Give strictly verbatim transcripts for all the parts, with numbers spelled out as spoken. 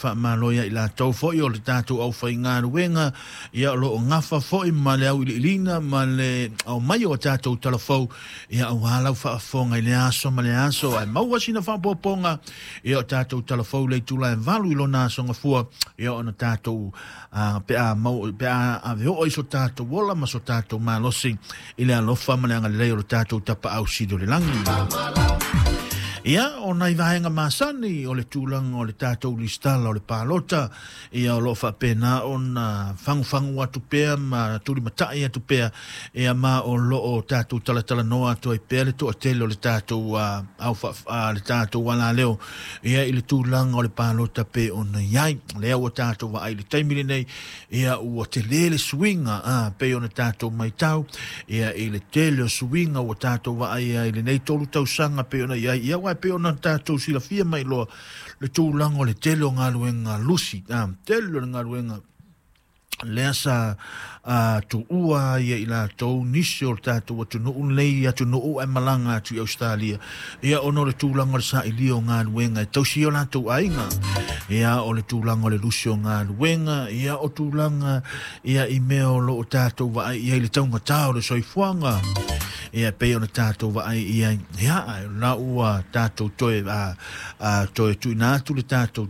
faamalo ia i latou foi o le tatou aufaigaluega ia o loo gafa foi ma le auiliiliga ma le aumai o tatou talafou ia auā lau faafofoga i le aso ma le aso ae maua sina faaopoopoga ia o tatou talafou le itula e valu i lona aso gafua ia ona tatou pe a mau pe a ave oo i so tatou ola ma so tatou malosi i le alofa ma le agalelei o le tatou tapaau sili o le lagi. Ia, o nai vaega masani o le tulaga o le tatou listala o le palota, ia o loo faapena ona fagufagu atu pea ma tulimatai atu pea, ia ma o loo tatou talatalanoa atu ai pea le toatele o le tatou au le tatou alaleo ia i le tulaga o le palota pe ona i ai. Lea ua tatou vaai i le taimi lenei, ia ua tele le suiga a pei ona tatou maitau, ia i le tele o suiga ua tatou vaai ai i lenei tolu tausaga pe ona i ai. Ia ua pe ona tatou silafia mai loa le tulaga o le tele o galuega lusi, a tele o le galuega lea sa tuua ia i latou nisi o le tatou atunuu lenei atunuu ae malaga atu i Australia ia ona o le tulaga o le sailia o galuega e tausi ai o latou aiga ia o le tulaga o le lusi o galuega ia o tulaga ia i mea o loo tatou vaai i ai le taugatā o le soifuaga ia pei ona tatou vaai i ai ia ae la ua tatou toe toe tuuina atu le tatou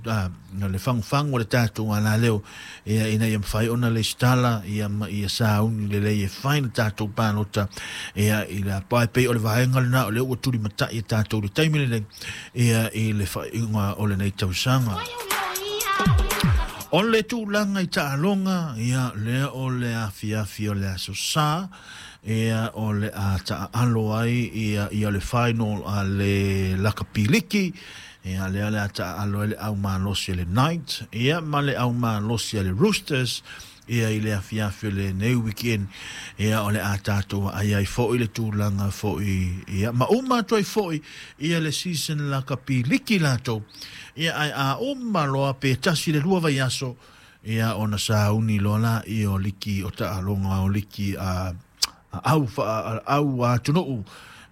le fagufagu o le tatou alaleo ia ina ia mafai ona lesitala ia ma ia sauni lelei e fai le tatou palota ia i le apae pei o le vaega lena o lea ua tulimatai e tatou le taimi lenei ia i le faaiuga o lenei tausaga. O le tulaga i taaloga ia lea o le afiafi o le aso Sa ia o le a taaalo ai ia ia le final a le lakapiliki ia lea le a taaalo ai le aumalosi a le Knights ia ma le aumalosi a le Roosters ia i le afiafi o lenei weekend ia o le a tatou ai ai foi le tulaga foi ia ma uma atu ai foi ia le season lakapiliki latou ia ae a uma loa pe tasi le lua vaiaso ia ona sauni loa la ia o liki o taaloga o liki a au au atunuu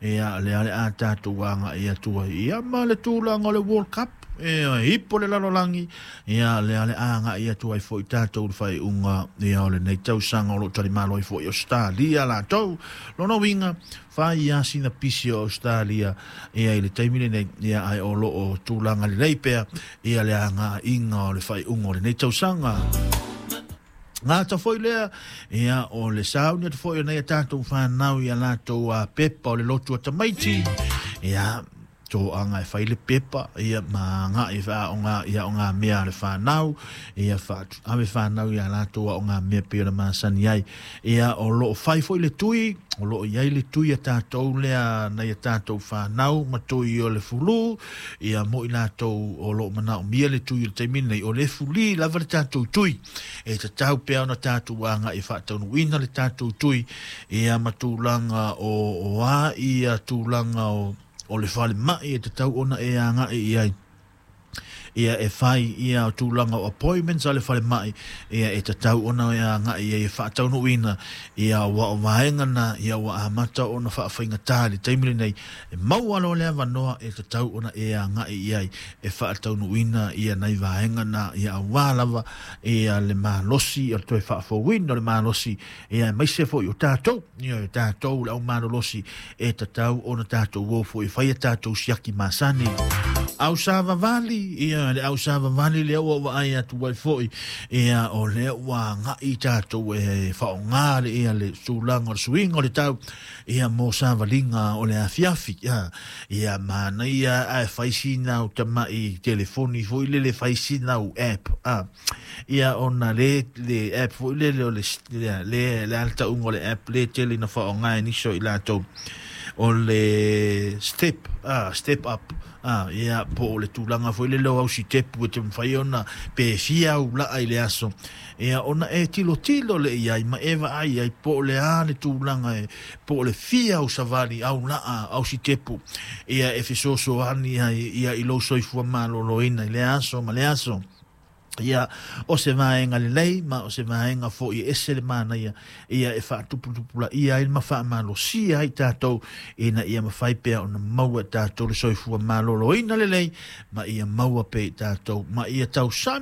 ia lea le a tatou agai atu ai ia ma le tulaga o le World Cup ia ipo le lalolagi ia lea le agai atu ai foi tatou le faaiuga ia o lenei tausaga o loo talimalo ai foi Australia latou lona uiga fai ia sina pisi o Australia ia i le taimi lenei ia ae o loo tulaga lelei pea ia le agaiga o le faaiuga o lenei tausaga. Gata foi lea ia o le sauni atu foi o nei tatou whanau ia latou a pepa o le lotu a tamaiti ia toaga e fai le pepa ia ma agai faaaoga ia o ngā mea a le whanau ia ave whanau ia latou a o ngā mea pei ona masani ai ia o loo fai foi le tui o loo iai le tui a tatou lea nai a tatou whanau ma tui o le fulu ia mo i latou o loo manaomia le tui o le taimi nei o le fuli lava le tatou tui e tatau pea ona tatou agai e faataunuuina le tatou tui ia ma tulaga o o a ia tulaga o o le falemai e tatau ona e agai i ai ia e fai ia tulaga o appointments a le falemai ia e tatau ona e agai i ai e faataunuuina ia ua o vaega na ia ua amata ona faafaigatā i le taimi lenei e maua loa le avanoa e tatau ona e agai i ai e faataunuuina ia nai vaega na ia auā lava ia le malosi o le toe faafouina o le malosi ia aemaise foi o tatou ia o tatou le aumalolosi e tatau ona tatou o foi e fai a tatou siaki masani. Au savavali ia le au savavali lea ua vaai atu ai foi ia o lea ua agai tatou e faaaoga le ia le tulaga o le suiga o le tau ia mo savaliga o le afiafi ia ia manaia ae fai sina o tamai telefoni foi lele fai sina o app a ia ona le le app foi lele o le le le altauga o le app le tele na faaaoga e nisi o i latou o le step ah step up ah ia po o le tulaga foi lele o au sitepu e te mafai ona pe fia au laa i le aso ia ona e tilotilo le iai ma e vaai ai po o le a le tulaga e po o le fia au savali au laa au sitepu ia e fesoasoani ai ia i lou soifua maloloina i le aso ma le aso. Ia o se vaega lelei ma o se vaega foi e ese le manaia ia e faatuputupulaia ai ma faamalosia ai tatou ina ia mafai pea ona maua e tatou le soifua maloloina lelei ma ia maua pea i tatou ma ia tausami